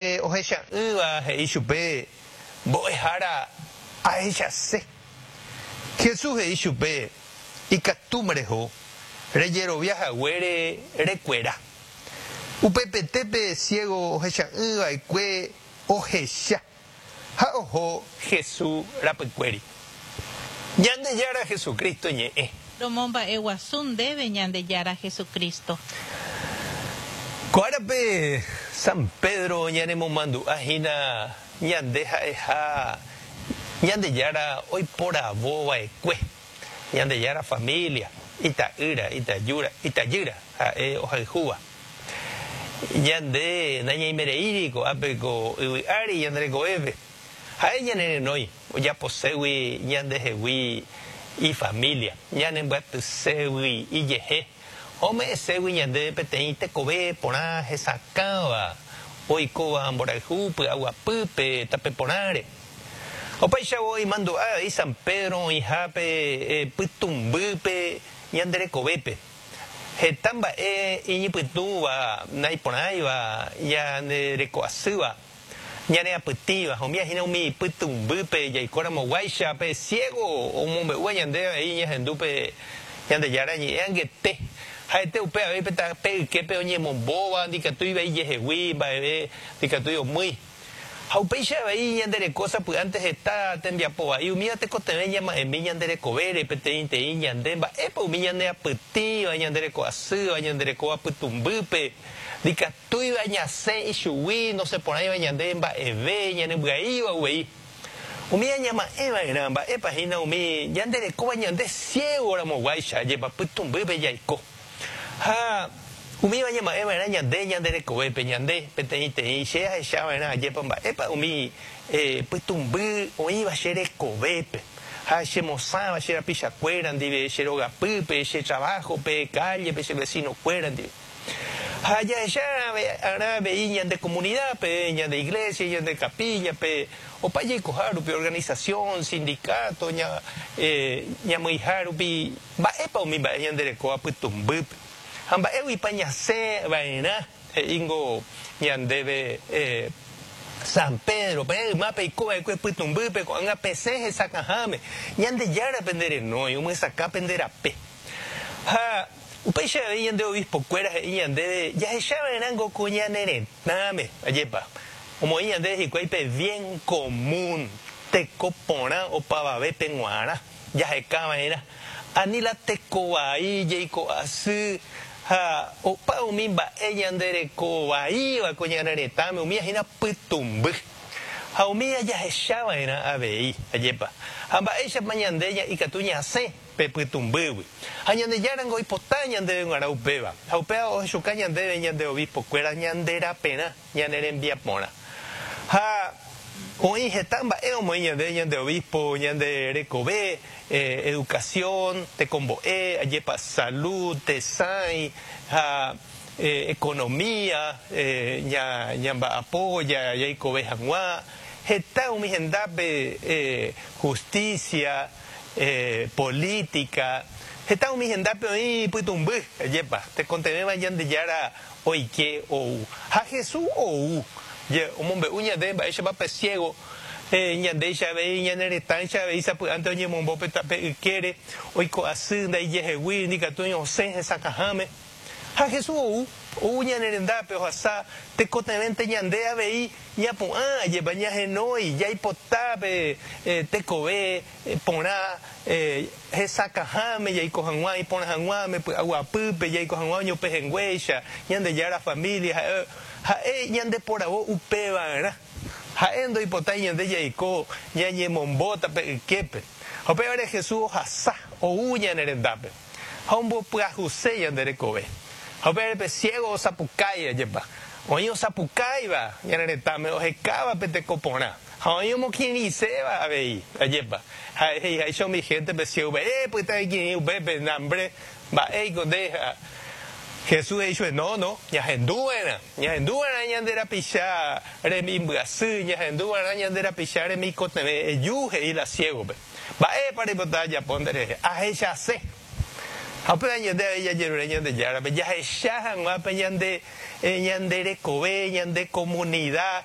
Ohecha'ỹva he'i chupe, Mbo'ehára, ahechase. Jesús he'i chupe, Ikatúma reho, rejerovia haguére rekuera. Upepete pe ciego ohecha'ỹ va'ekue ohecha ha oho Jesús rapykuéri. Ñandejára Jesucristo ñe'ẽ. Romomba'eguasu ndéve Ñandejára Jesucristo. Ko árape San Pedro ñanemomandu'a hína ñande ha'eha Ñandejára oiporavo va'ekue, Ñandejára familia, ita'ýra, itajúra, itajýra ha'e ohayhúva. Ñande nañaimereíri ko'ápe ko yvy ári ñande rekovépe. Ha'e ñanerenói ojaposégui ñandehegui ifamília, ñanembyatységui ijehe, ha ome'ẽségui ñandéve peteĩ tekove porã hesakãva, oikóva mborayhu py'aguapýpe tape porãre. Opáichavo imandu'a avei San Pedro oĩha pe pytũmbýpe ñande rekovépe. Heta mba'e iñypytũva, naiporãiva, ñande reko asýva. Ñaneapytĩva, umíva hína umi pytũmbýpe jaikóramo guáicha pe ciego omombe'úva ñande avei ñahendu pe Ñandejára ñe'ẽ angete. Ha'ete upe avei pe tape yképe oñemombóva, ndikatúiva ijehegui mba'eve ndikatúi omýi. Ha upéicha avei ñande reko sapy'ánte heta tembiapo vai, umíva tekotevẽ ñama'ẽmi ñande rekovére peteĩteĩ ñande mba'épa umi ñaneapytĩva, ñande reko asýva, ñande rekóva pytũmbýpe, ndikatúiva. Túiva ñasẽ ichugui nosẽporãiva ñande mba'eve ñanembyaíva uvei. Umi añama'ẽ va'erã mba'épa hína umi ñande rekóva ñande ciego ramo guáicha jepa pytũmbýpe jaiko. Ha umíva añama'ẽ va'erã ñande ñande rekovépe ñande peteĩ teĩ che ahecha va'erã ajépa mba'épa umi pytũmby oĩva che rekovépe ha che mosãva che rapichakuéra ndive che rogapýpe che trabajo-pe calle-pe che vecino-kuéra ndive. Ha jahecha arã avei ñande comunidad-pe, ñande iglesia, ñande capilla-pe, opa jaikoha rupi, organización, sindicato, ñamyiha rupi, mba'épa umi mba'e ñande rekóva pytũmbýpe. Ha mba'éguipa ñasẽ va'erã, he'íngo ñandéve San Pedro, peẽ yma peiko va'ekue pytũmbýpe, ko'ág̃a pesẽ hesakãháme, Ñandejára pende renói, omyesakã pende rape. Ha Upéicha avei ñande obispo-kuéra he'i ñandéve jahecha va'erãngo ko ñane retãme, ajépa, omoĩ ñandéve hikuái pe bien común, teko porã opavavépe g̃uarã, jaheka va'erã, ani la teko vai, jeiko asy ha opa umi mba'e ñande reko vaíva ko ñane retãme, umíva hína pytũmby. Ha umíva jahecha va'erã avei, ajépa. Ha mba'éichapa ñande ikatu ñasẽ pe pytũmbýgui. Ha Ñandejárango oipota ñandéve g̃uarã upéva, ha upéva ohechuka ñandéve ñande obispo-kuéra ñande raperã, ñane rembiaporã. Ha oĩ heta mba'e omoĩ ñandéve ñande obispo, ñande rekove, educación, tekombo'e, ajépa salud, tesãi ha economía, ñamba'apo jaikove hag̃ua, heta umi hendápe justicia, Política, heta umi hendápe oĩ pytũmby, ajépa, tekotevẽva Ñandejára oike ou. Ha Jesús ou, omombe'u ñande mba'éichapa pe ciego, ñandéicha avei, ñane retãicha avei sapy'ánte oñemombo pe tape ykére, oiko asy ndaijehegui, ndikatúi osẽ hesakãháme. Ha Jesús ou, ou ñane rendápe ohasa tekotevẽnte ñande avei ñapu'ã, ajépa ñahenói, jaipota pe tekove porã hesakãháme jaiko hag̃ua, iporã hag̃uáme, py'aguapýpe jaiko hag̃ua oñopehenguéicha, Ñandejára familia, ha'e, ha'e ñandeporavo upevarã. Ha'e ndoipotái ñande jaiko ñañemombo tape yképe. Ha upévare Jesús ohasa, ou ñane rendápe. Ha ombopyahuse ñande rekove. Ha upévare pe ciego osapukái, ajépa. Oĩ osapukáiva ñane retãme ohekáva pe teko porã. Ha oĩ omokirirĩséva avei, ajépa. Ha he'iháicha umi hénte pe ciégope, Epyta ekirirĩ upépe, nambre, mba'éiko nde. Ha Jesús he'i chupe, No, no, ñahendu va'erã. Ñahendu va'erã ñande rapicha remimbyasy, ñahendu va'erã ñande rapicha remikotevẽ. Eju, he'i la ciégope. Mba'épa reipota ajapo nderehe? Ahechase. Ha upéva ñande avei jajerure Ñandejárape jahecha hag̃ua pe ñande, ñande rekove, ñande comunidad.